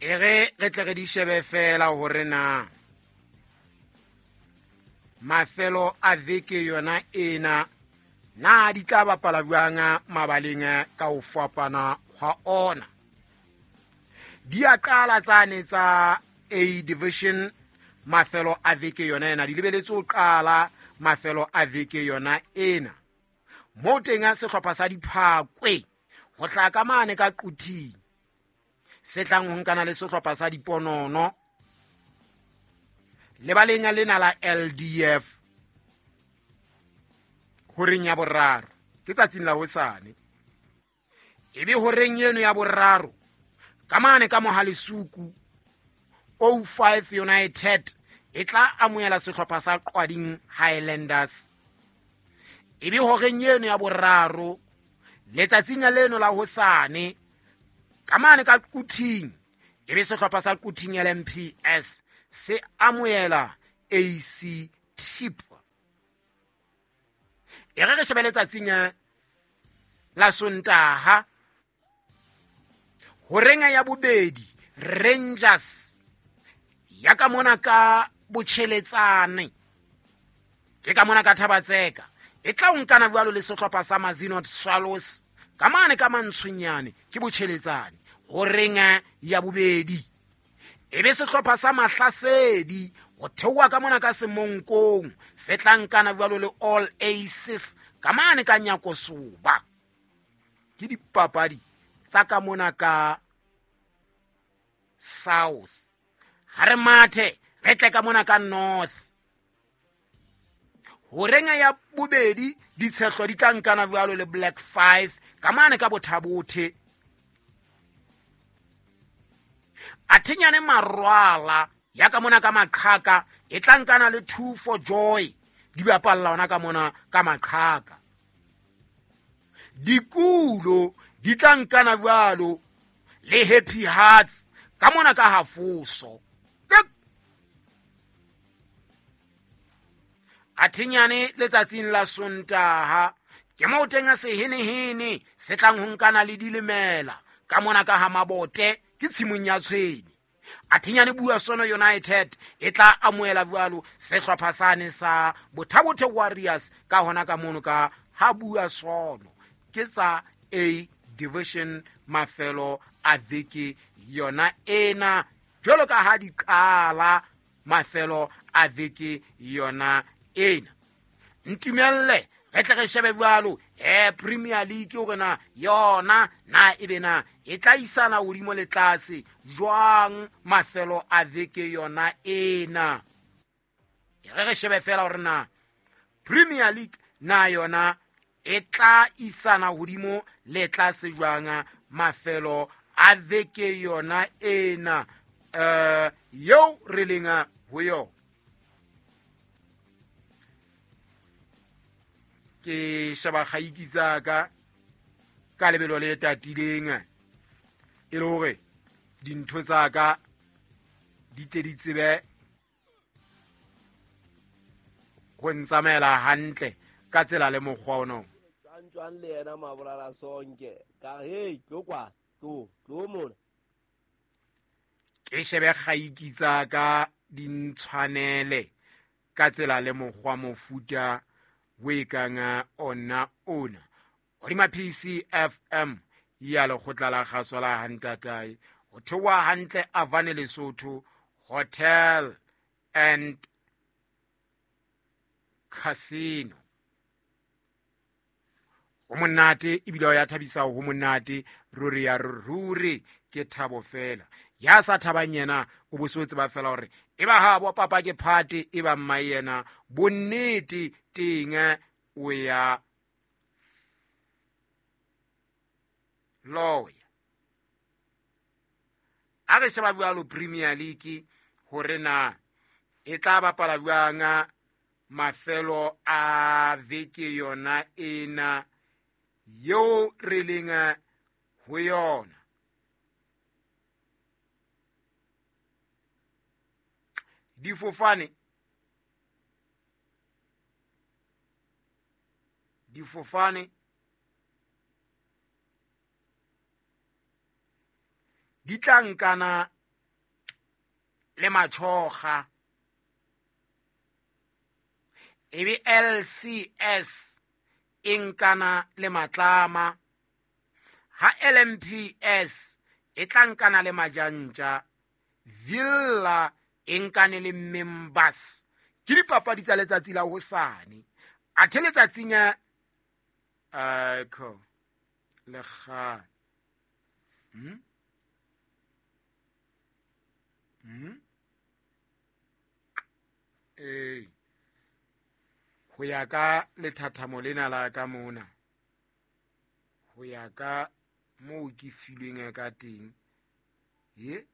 E re re tle re di shebe fela hore na mafelo a veke yona ena na di tla bapala jwang mabaleng ka ho fapana hwa ona. Di a qala tsane tsa A division mafelo a veke yona ena, di lebeletse ho qala mafelo a veke yona ena. Moo teng a sehlopha sa Diphakwe ho hlaha ka mane ka Quthing se tlang ho nkana le sehlopha sa Diponono lebaleng lena la LDF horeng ya boraro ke tsatsing la hosane. Ebe horeng eno ya boraro ka mane ka Mohalesuku 05 United e tla amohela sehlopha sa Qwading Highlanders. Ebe horeng eno ya boraro letsatsing leno la hosane ka mane ka Quthing ebe sehlopha sa Quthing LMPS se amohela AC Tip. E re re shebe letsatsing la Sontaha horeng ya bobedi Rangers ya ka mona ka Botjheletsane ke ka mona ka Thabatseka e tla o nkana jwalo le sehlopha sa Mazinot Swallows ka mane ka Mantshwenyane ke Botjheletsane horeng ya bobedi. Ebe sehlopha sa Mahlasedi ho theoha ka mona ka Semonkong se tla nkana jwalo le All Aces ka mane ka Nyakosoba. Ke dipapadi tsa ka mona ka South. Ha re mathe re tle ka mona ka North. Horeng ya bobedi ditshehlo di tla nkana jwalo le Black 5 ka mane ka Bothabothe. Athenyane Marwala ya ka mona ka Maqhaka e tla nkana le 2 for Joy di bapalla ona ka mona ka Maqhaka. Dikulo di tla nkana jwalo le Happy Hearts ka mona ka Hafoso. Athenyane letsatsing la Sontaha ke moo teng a sehenehene se tlang ho nkana le dilemela ka mona ka ha Mabote ke tshimong ya Tshwene. Athenyane Bua Sono United e tla amohela jwalo sehlopha sane sa Bothabothe Warriors ka hona ka mono ka ha Bua Sono. Ke tsa A division mafelo a veke yona ena jwalo ka ha di qala mafelo a veke yona ena. Ntumelle re tle re shebe jwalo Premier League hore na yona na ebe na e tla isana hodimo le tlase jwang mafelo a veke yona ena. E re re shebe fela hore na Premier League na yona e tla isana hodimo le tlase jwang mafelo a veke yona ena eo re leng ho yona. Ke sheba kgaiki tsa ka ka lebelo le tatileng e le hore dintho tsa ka di tle di tsebe ho ntsamaela hantle ka tsela le mokgwa ono. Jwang le yena Mabolala Sonke ka hey tlo kwa tlo tlo mona. Ke shebe kgaiki tsa ka di ntshwanele ka tsela le mokgwa mofuta o e kang ona ona. Hodima PCFM ya lekgotla la kgaso la Hantatae ho theoha hantle Avane Lesotho Hotel and Casino. Ho monate ebile ho ya thabisa, ho monate ruri ya ruri ke thabo fela. Ya sa thabang yena o bo se tseba fela hore e ba ha bo papa ke phate e ba mma yena bonnete teng o ya loya. A re sheba jwalo Premier League hore na e tla bapala jwang mafelo a veke yona ena eo re leng ho yona. Difofane di tla nkana le Machoga, ebe LCS e nkana le Matlama, ha LMPS e tla nkana le Majantja, Villa e nkane le Members. Ke dipapadi tsa letsatsi la hosane. Athe letsatsing ko le kgale. Ho ya ka lethathamo lena la ka mona, ho ya ka moo ke filweng ka teng, ye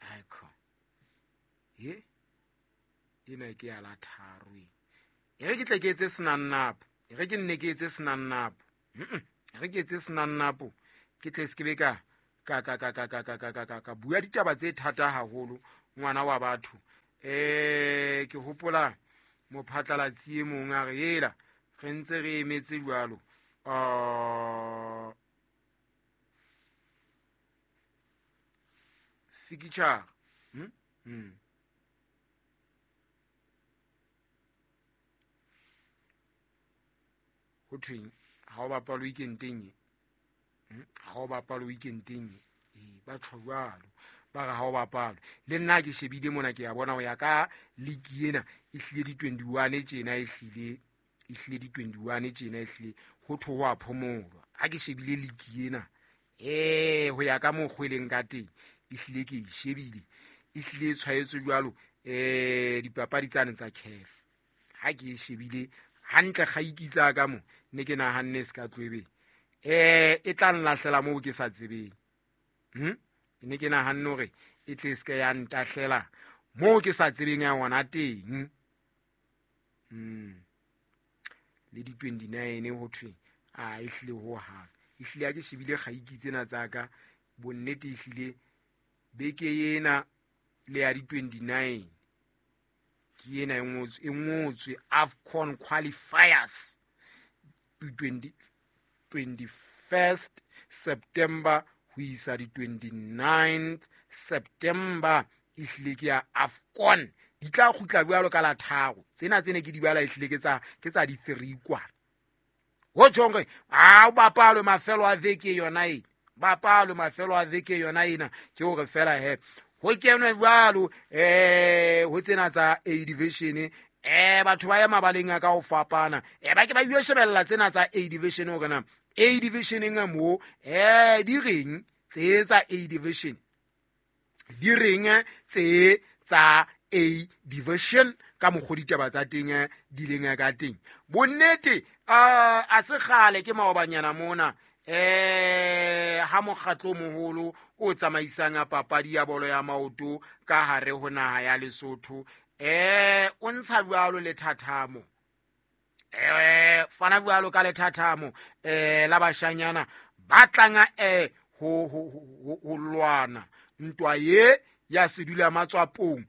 aiko ye ena ke ya la tharo e. E re ke tle ke etse senannapo, e re ke nne ke etse senannapo, e re ke etse senannapo, ke tle se ke be ka ka ka ka ka ka ka ka ka ka bua ditaba tse thata haholo ngwana wa batho. Ke hopola mophatlalatsi e mong a re ela re ntse re emetse jwalo. Fixture. Ho thweng ha o bapala weekendeng e? Ha o bapala weekendeng e, ba tjho jwalo, ba re ha o bapala. Le nna ke shebile mona, ke ya bona ho ya ka league ena e hlile di 21 tjena, e hlile di 21 tjena, e hlile ho thwe ho a phomolwa. Ha ke shebile league ena, ho ya ka mokgwa e leng ka teng, e hlile ke e shebile, e hlile e tshwaetswe jwalo, dipapadi tsane tsa CAF. Ha ke e shebile hantle kgaiki tsa ka mo, ne ke nahanne se ka tlwebeng, e tla nlahlela moo ke sa tsebeng. Ne ke nahanne hore e tle se ke ya ntahlela moo ke sa tsebeng ya yona teng. Le di 29 ho thwe a e hlile ho hang. E hlile ha ke shebile kgaiki tsena tsa ka, bonnete e hlile beke ena le ya di 29 ke ena e ngotswe AFCON qualifiers 21st September ho isa di 29th September. E hlile ke ya AFCON, di tla kgutla jwalo ka la tharo. Tsena tsene ke di bala e hlile ke tsa di 3 kwana. Ho tjhong hore ha o bapalwe mafelo a veke yona ena, bapalwe mafelo a veke yona ena, ke hore fela he ho kenwe jwalo ho tsena tsa A division. Batho ba ya mabaleng a ka ho fapana, ba ke ba yo shebella tsena tsa A division hore na A division mo di reng tse tsa A division, di reng tse tsa A division ka mokgwa ditaba tsa teng di leng ka teng. Bonnete a se kgale ke maobanyana mona, ha mokgatlo moholo o tsamaisang papadi ya bolo ya maoto ka hare ho naha ya Lesotho, o ntsha jwalo lethathamo, fana jwalo ka lethathamo la bashanyana ba tlang ho lwana ntwa ye ya sedula matswapong.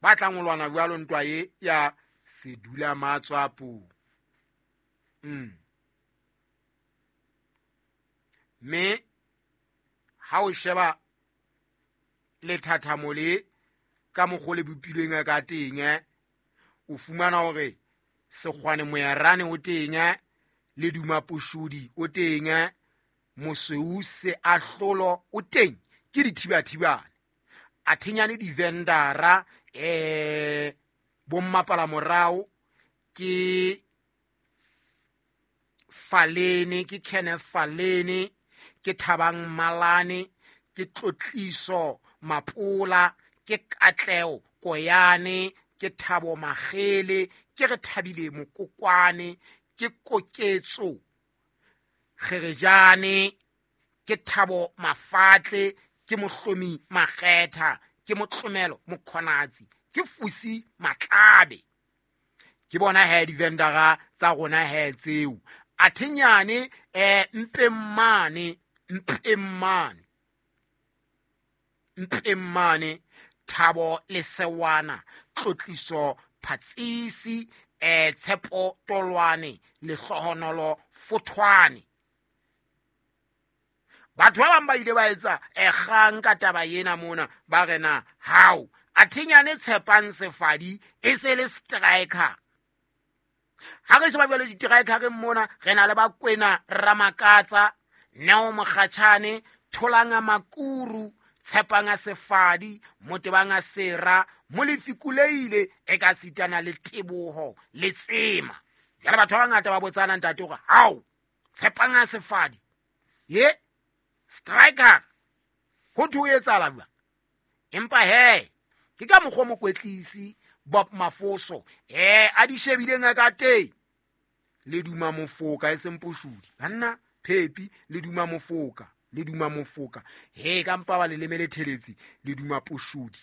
Ba tlang ho lwana jwalo ntwa ye ya sedula matswapong. Mme ha o sheba lethathamo le ka mokgwa le bopilweng ka teng, o fumana hore Sekgwane Moerane o teng, le Duma Poshodi o teng, Mosweu Se Ahlolo o teng, ke dithibathibane. A thenyane di-vendora, bommapala morao ke Falene, ke Kenneth Falene, ke Thabang Malane, ke Tlotliso Mapola, ke Katleo Koyane, ke Thabo Magele, ke re Thabile Mokokwane, ke Koketso Kgerejane, ke Thabo Mafatle, ke Mohlomi Makgetha, ke Motlomelo Mokhonatsi, ke Fusi Matlabe. Ke bona he di-vendora tsa rona he tseo. Athenyane Mpemmane, Mpemmane, Thabo Lesewana, Tlotliso Phatsisi, Tshepo Tolwane Lehlohonolo Fothwane. Batho ba bang ba ile ba etsa kgang ka taba ena mona, ba re na hao athinyane Tshepang Sefadi e se le striker. Ha re sheba jwale di-strikereng mona, re na le Bakwena Ramakatsa, Neo Mokgatjhane, Tholanga Makuru, Tshepanga Sefadi, Motebanga Sera, Molefi Kuleile, e ka sitana le Teboho le Tsema. Jwale batho ba bangata ba botsana ntate hore hao Tshepanga Sefadi ye striker ho thwe ho etsahala jwang? Empa he ke ka mokgwa mokwetlisi Bob Mafoso a di shebileng ka teng. Le duma mofoka e seng poshudi banna, phepi le duma mofoka, le duma mofoka. He ka mpa ba le lemele theletse, le duma poshudi,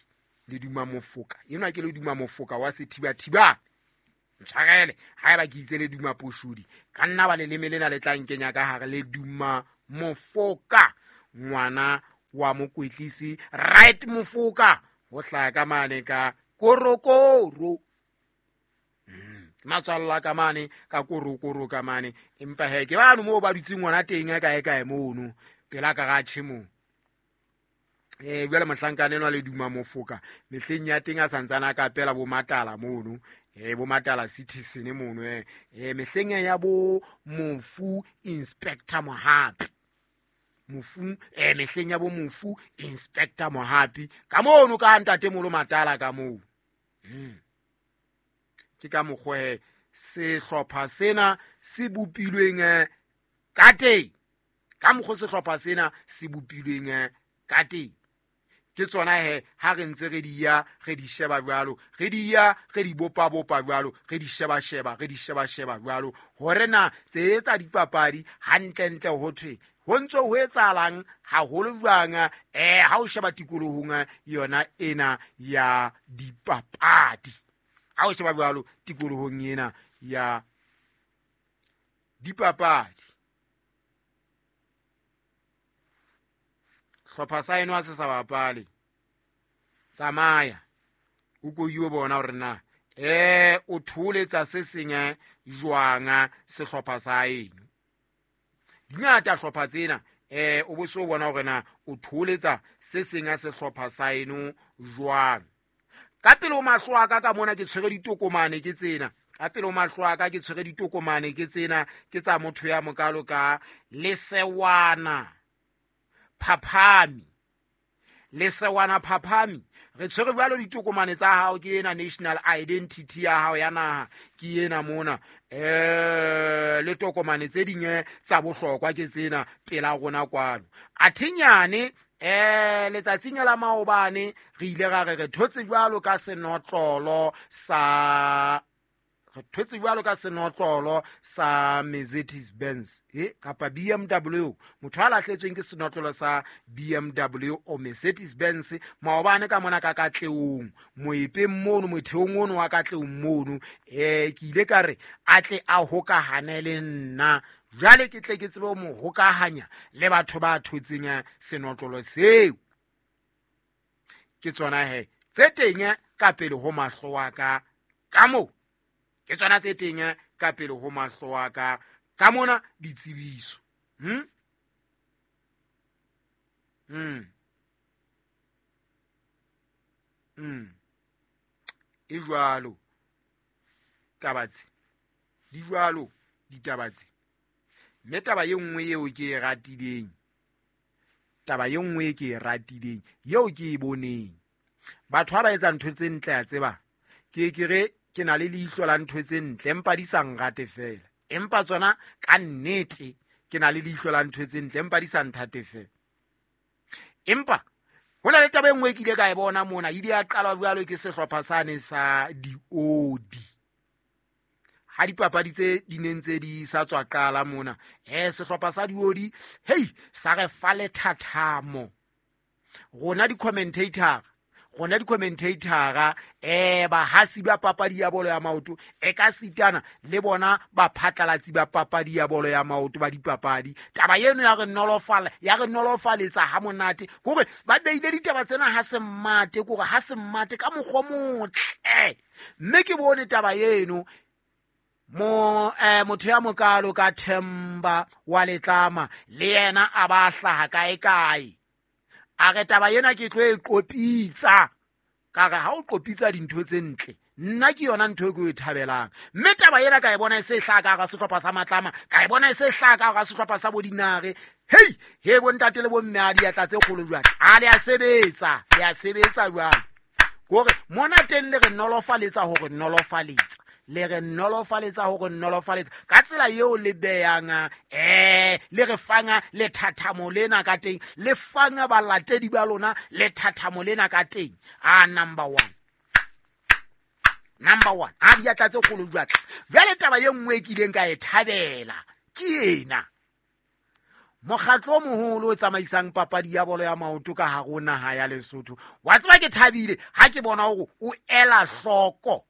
le duma mofoka. Enwa ke le duma mofoka wa sethibathibane. Ntshwarele haeba ke itse le duma poshudi, ka nna ba le leme lena le tla nkenya ka hare. Le duma mofoka, ngwana wa mokwetlisi right mofoka ho hlaha ka mane ka korokoro. Matswalla ka mane ka korokoro ka mane. Empa he ke bano moo ba dutseng ngwana teng kae kae mono pela garage moo. Jwale mohlankana enwa le duma mofoka mehleng ya teng a santsana a kapela bo Matala mono, bo Matala Citizen mono, mehleng ya bo mofu Inspector Mohapi. Mofu, mehleng ya bo mofu Inspector Mohapi ka mono ka ntate molo Matala ka moo. Ke ka mokgwa sehlopha sena se bopilweng ka teng, ka mokgwa sehlopha sena se bopilweng ka teng. Ke tsona he ha re ntse re di ya re di sheba jwalo, re di ya re di bopa bopa jwalo, re di sheba sheba, re di sheba sheba jwalo, hore na tse tsa dipapadi hantlentle ho thwe ho ntse ho etsahalang haholo jwang, ha o sheba tikolohong yona ena ya dipapadi. Ha o sheba jwalo tikolohong ena ya dipapadi, hlopha sa eno ha se sa bapale, tsamaya o ko yo bona hore na o tholetsa se seng jwang sehlopha sa eno. Dingata hlopha tsena, o bo so bona hore na o tholetsa se seng sehlopha sa eno jwang. Ka pele ho mahlo a ka ka mona ke tshwere ditokomane ke tsena, ka pele ho mahlo a ka ke tshwere ditokomane ke tsena, ke tsa motho ya mokalo ka Lesewana Phaphami. Lesewana Phaphami, re tshwere jwalo ditokomane tsa hao, ke ena national identity ya hao ya naha, ke ena mona, le tokomane tse ding tsa bohlokwa ke tsena pela rona kwano. Athinyane letsatsing la maobane re ile ra re re thotse jwalo ka senotlolo sa, re thotse jwalo ka senotlolo sa Mercedes Benz, kapa BMW. Motho a lahletsweng ke senotlolo sa BMW o Mercedes Benz maobane ka mona ka Katleong, moepeng mono, motheong ono wa Katleong mono, ke ile ka re a tle a hokahane le nna, jwale ke tle ke tsebe ho mo hokahanya le batho ba thotseng senotlolo seo. Ke tsona he tse teng ka pele ho mahlo a ka ka moo, ke tsona tse teng ka pele ho mahlo a ka ka mona ditsebiso. E jwalo taba tse, di jwalo ditaba tse. Mme taba e nngwe eo ke e ratileng, taba e nngwe e ke e ratileng eo ke e boneng, batho ha ba etsa ntho tse ntle a tseba, ke ke re ke na le leihlo la ntho tse ntle, empa di sa nrate fela. Empa tsona ka nnete ke na le leihlo la ntho tse ntle, empa di sa nthate fela. Empa ho na le taba e nngwe e ke ile ka e bona mona, e ile ya qalwa jwalo ke sehlopha sane sa diodi. Ha dipapadi tse di neng tse di sa tswa qala mona, sehlopha sa diodi, hei, sa re fa lethathamo. Rona di-commentator, rona di-commentator, bahasi ba papadi ya bolo ya maoto, e ka sitana le bona baphatlalatsi ba papadi ya bolo ya maoto ba dipapadi. Taba eno ya re nolofala, ya re nolofaletsa ha monate, hore ba beile ditaba tsena ha se mmate, kore ha se mmate ka mokgwa o motle. Mme ke bone taba eno Mo motho ya mokalo ka Themba wa Letlama le yena a ba hlaha kae kae. A re taba ena ke tlo e qopitsa. Ka re ha o qopitsa dintho tse ntle, nna ke yona ntho e ke e thabelang. Mme taba ena ka e bona e se hlaha ka hara sehlopha sa Matlama, ka e bona e se hlaha ka hara sehlopha sa Bodinare. Hei, he bontate le bomme a diatla tse kgolo jwale. A le a sebetsa, le a sebetsa jwale. Kore mona teng le re nolofaletsa hore nolofaletsa. Le re nolofaletsa hore nolofaletsa. Ka tsela eo le beyang, le re fang lethathamo lena ka teng, le fang balatedi ba lona lethathamo lena ka teng. A number one. Number one. A diatla tse kgolo jwale. Jwale taba e nngwe e kileng ka e thabela ke ena. Mokgatlo o moholo o tsamaisang papadi ya bolo ya maoto ka hare ho naha ya Lesotho. Wa tseba ke thabile ha ke bona hore o ela hloko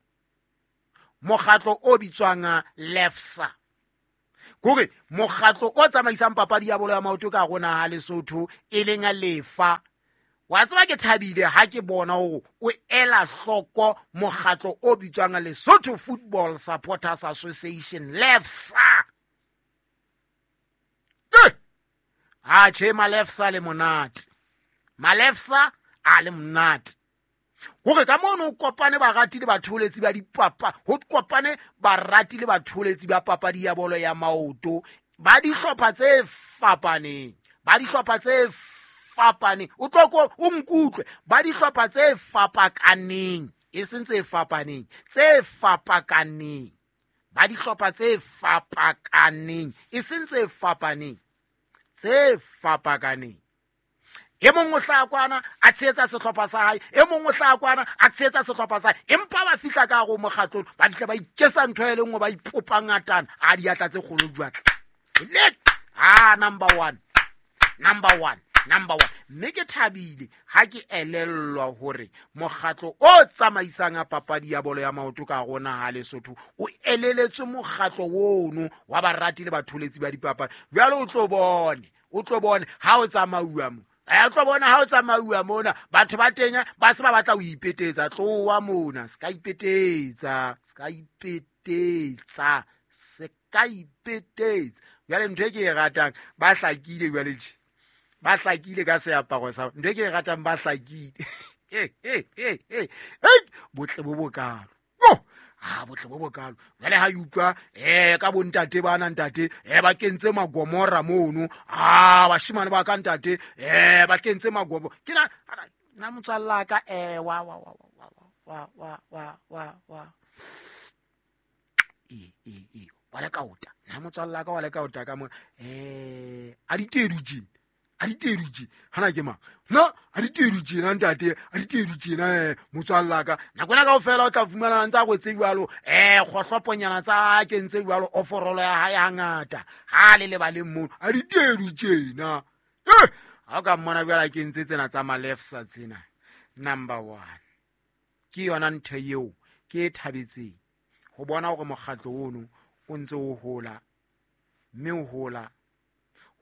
mokgatlo o bitswang LEFSA. Kore mokgatlo o tsamaisang papadi ya bolo ya maoto ka hare ho naha ya Lesotho e leng LEFA. Wa tseba ke thabile ha ke bona hore o ela hloko mokgatlo o bitswang Lesotho Football Supporters Association, LEFSA. A tjhe, Malefsa le monate. Malefsa a le monate. Hore ka mono ho kopane barati le batholetsi ba dipapa, ho kopane barati le batholetsi ba papadi ya bolo ya maoto, ba dihlopha tse fapaneng, ba dihlopha tse fapaneng. O tlo ko o nkutlwe, ba dihlopha tse fapakaneng, e seng tse fapaneng, tse fapakaneng. Ba dihlopha tse fapakaneng, e seng tse fapaneng, tse fapakaneng. E mong o hlaha kwana a tshehetsa sehlopha sa hae, e mong o hlaha kwana a tshehetsa sehlopha sa hae, empa ba fihla ka hare ho mokgatlong, ba fihla ba iketsa ntho e le nngwe, ba ipopa ngatana. A diatla tse kgolo jwale. Le a number one, number one, number one. Mme ke thabile ha ke elellwa hore mokgatlo o tsamaisang a papadi ya bolo ya maoto ka hare ho naha ya Lesotho o eleletswe mokgatlo ono wa barati le batholetsi ba dipapadi. Jwale o tlo bone, o tlo bone ha o tsamauwa mo. O tlo bona ha o tsamauwa mona, batho ba teng ba se ba batla ho ipetetsa. Tloha mona, se ka ipetetsa, se ka ipetetsa, se ka ipetetsa. Jwale ntho e ke e ratang, ba hlakile jwale tje. Ba hlakile ka seaparo sa ntho e ke e ratang, ba hlakile. Hey, botle bo bokalo. Yo, botle bo bokalo. Jwale ha e utlwa, ka bontate bana ntate, ba kentse magomora mono. Bashemane ba ka ntate, ba kentse magomo. Ke na, na motswalla ka, wa, wa, wa, wa, wa, wa, wa, wa, wa. E, e, e, wa le kaota. Na motswalla ka wa le kaota ka mona. A ditedu tje. A ditedu tje. Hana ke mang? Na a ditedu tjena ntate, a ditedu tjena, motswalla ka. Nako ena kaofela o tla fumana ntse a kwetse jwalo, kgohloponyana tsa kentse jwalo, oforolo ya hae hangata. Ha le lebaleng mono, a ditedu tjena. Ha o ka mmona jwale a kentse tsena tsa Malefsa tsena. Number one. Ke yona ntho eo ke e thabetseng ho bona hore mokgatlo ono o ntse o hola, mme o hola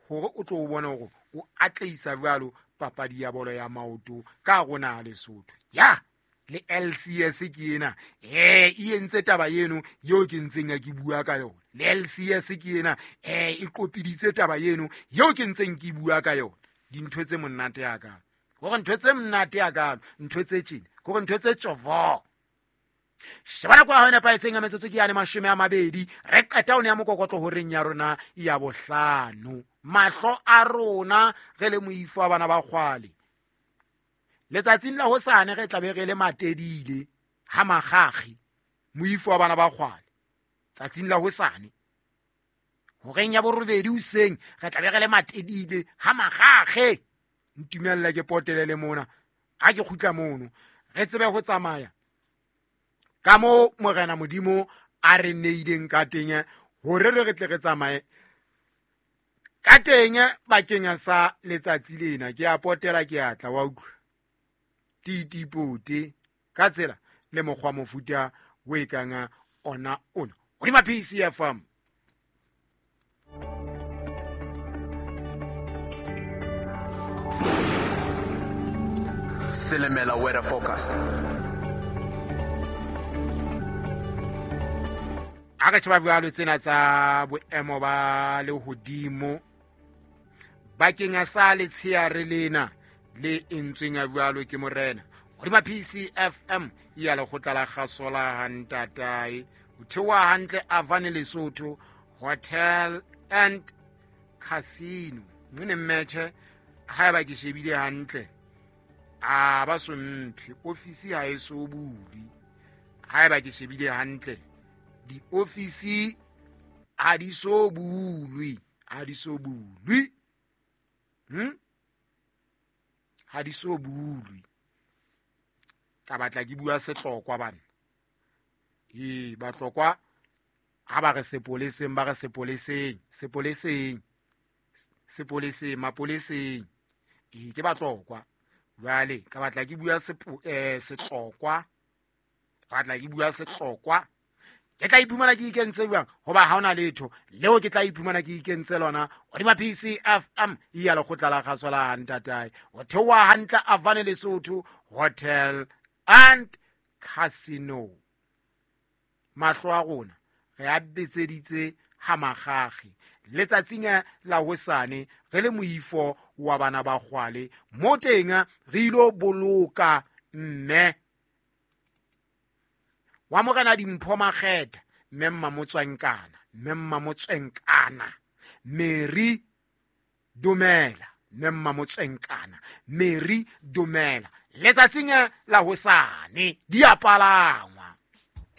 hore o tlo bona hore o atlehisa jwalo papadi ya bolo ya maoto ka hare ho naha Lesotho. Ya, le LCS ke ena. E entse taba eno eo ke ntseng ya ke bua ka yona. Le LCS ke ena. E qopiditse taba eno eo ke ntseng ke bua ka yona. Dintho tse monate ya ka. Hore ntho tse monate ya ka, ntho tse tjena, hore ntho tse tjovo. Sheba nako ya hao e nepahetseng ya metsotso ke yane 20. Re qeta ho nea mokokotlo horeng ya rona ya bohlano. Mahlo a rona re le moifo wa bana ba kgwale. Letsatsing la hosane re tla be re le matedile ha makgakgi moifo wa bana ba kgwale. Tsatsing la hosane horeng ya borobedi hoseng re tla be re le matedile ha makgakge. Ntumella ke potele le mona. Ha ke kgutla mono re tsebe ho tsamaya ka moo Morena Modimo a re neileng ka teng hore re tle re tsamaye ka teng bakeng sa letsatsi lena. Ke a potela, ke a tla wa utlwa titipote ka tsela le mokgwa mofuta o e kang ona ona hodima PCFM. Silimela weather forecast. A re sheba jwalo tsena tsa boemo ba lehodimo bakeng sa letsheare lena le entsweng ya jwalo ke morena hodima PCFM ya lekgotla la kgasola hantatae ho theoha hantle Avane Lesotho Hotel and Casino. Nne mmetjhe haeba ke shebile hantle a ba so mphe ofisi ha e so bulwe. Haeba ke shebile hantle diofisi ha di so bulwe, ha di so bulwe, ha di so bulwe. Ka batla ke bua sehlokwa bana. Ee, bahlokwa ha ba re sepoleseng, ba re sepoleseng, sepoleseng, sepoleseng, mapoleseng. Ee, ke bahlokwa. Jwale ka batla ke bua sehlokwa, ka batla ke bua sehlokwa. Ke tla iphumana ke ikentse jwang? Hoba ha hona letho leo ke tla iphumana ke ikentse lona hodima PCFM ya lekgotla la kgaso la ntatae. Ho theoha hantle Avane Lesotho Hotel and Casino. Mahlo a rona re a betseditse ha makgakge letsatsing la hosane re le moifo wa bana ba kgwale mo teng re ilo boloka mme wa morena Dimpho Makgetha, mme Mmamotswenkana, mme Mmamotswenkana Mary Dumela, mme Mmamotswenkana Mary Dumela. Letsatsing la hosane di a palangwa.